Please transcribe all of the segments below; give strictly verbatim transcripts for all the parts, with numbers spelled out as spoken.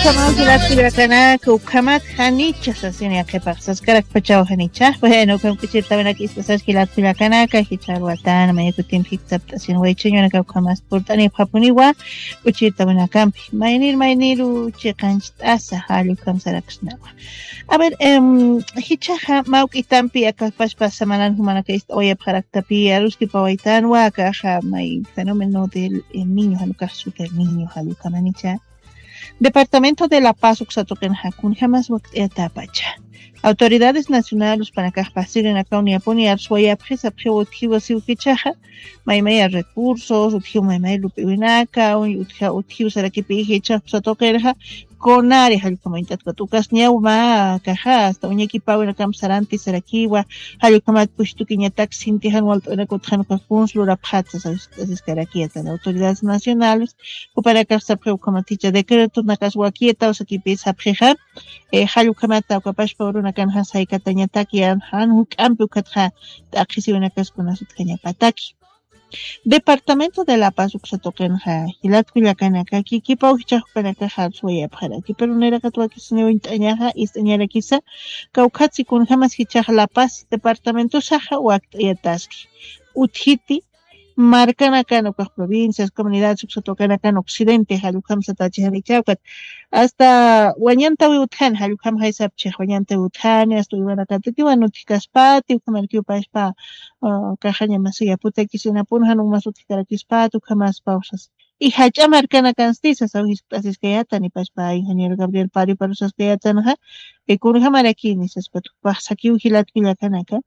Ukhamat jilat kullakanaka, ukhamat janicha sasini yaqhipax saskarakpachaw janicha. Bueno, ukham k'uchirtawinaka ist'asas jilat kullakanaka, jichharwatan mayakutimpi jikchapt'asin waychiñunaka ukhamas purt'anipxapuniwa k'uchirtawinakampi. Maynir mayniru chiqancht'asa, jall ukham saraksnawa. A ver, em, jichaxa mawk'itampi akapashpa samanan jumanaka ist'awayapxaraktapi aruskipawaytanwa akaxa may fenómeno del El Niño, janukax super niño, jall ukhamanicha. Departamento de La Paz uksa tuqinxa kunjamas wakt'ayatapacha. Autoridades nacionales panakax pasirinakaw niyapuni arswayapxi sapxiw utjiwa siw jichaxa, maymaya recursos, utjiw maymay lup'iwinaka, utjiw sarakipi jichax uksa tuqinxa, konari jallkamañt'atkat ukas ñaw ma kaxa, hasta uñakipawinakamp saranti sarakiwa, jallkamat pushtukiñatak sinti jan walt'awinaka utjanukax kuns lurapxatsa, sasiskaraki yatan autoridades nacionales, jupanakax sapxiw ukhamat jicha decretonakas wakiyataw sakipi sapxixa, eh, jall ukhamata ukapashpa urunakanxa saykatañataki jan juk'ampi ukhatxa t'aqhisiwinakas kunas utjañapataki. Departamento de La Paz uksa tuqinxa jilat kullakanaka kikipaw jichax jupanakaxa arswayapxaraki, pero niraqat wakisiniw uñt'añaxa ist'añarakisa, kawkhatsi kunjamas jichax La Paz departamentosaxa wakt'ayataski. Utjiti markanakan ukax provincias, comunidades uksa tuqinakan occidente jall ukham satachixani ichawkat. Hasta wañantawi utjani, jall ukham jaysapchix wañantawi utjani, hasta uywanakatatiwan utjkaspati, ukhamarkiw pashpa, ah, kaxaña masi yaputakisinapunxa, numas utjkarakispati, ukhamaspaw sas. Y jach'a markanakansti sasaw jiskt'asiskayatan, nipashpa ingeniero Gabriel Pari parusaskayatanxa, eh, kunjamarakini saspat, jupax sakiw jilat kullakanaka.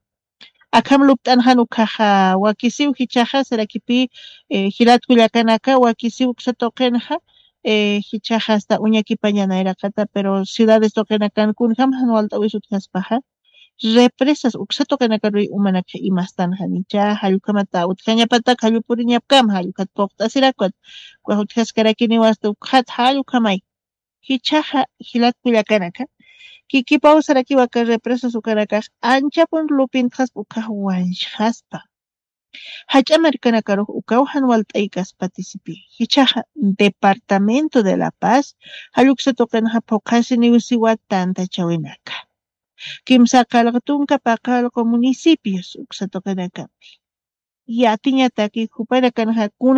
Akham lupt'anxan ukhaxa wakisiw jichaxa, sarakipi, eh, jilat kullakanaka wakisiw uksa tuqinxa, eh, jichaxa hasta uñakipaña nayraqata, pero ciudades tuqinakan kunjam jan walt'awis utjaspaxa, represas uksa tuqinakaruy umanakxa imastanxanicha, jall ukhamata utjañapatak, jall puriñapkam, jall ukhat puqt'asirakwat, ukax utjaskarakiniwa hasta ukxat, jall ukhamay. Jichaxa jilat kullakanaka, kikipaw sarakiwa aka represas ukanakax anchapun lupintxaspa ukax wanchxaspa. Jach'a markanakarux ukaw jan walt'aykaspatisipï. Jichaxa departamento de La Paz jall uksa tuqinxa phuqhasiniw siwa tantachawinaka. Kimsa qallqa tunka paqallqu municipios uksa tuqinakampi. Yatiñataki jupanakanxa kun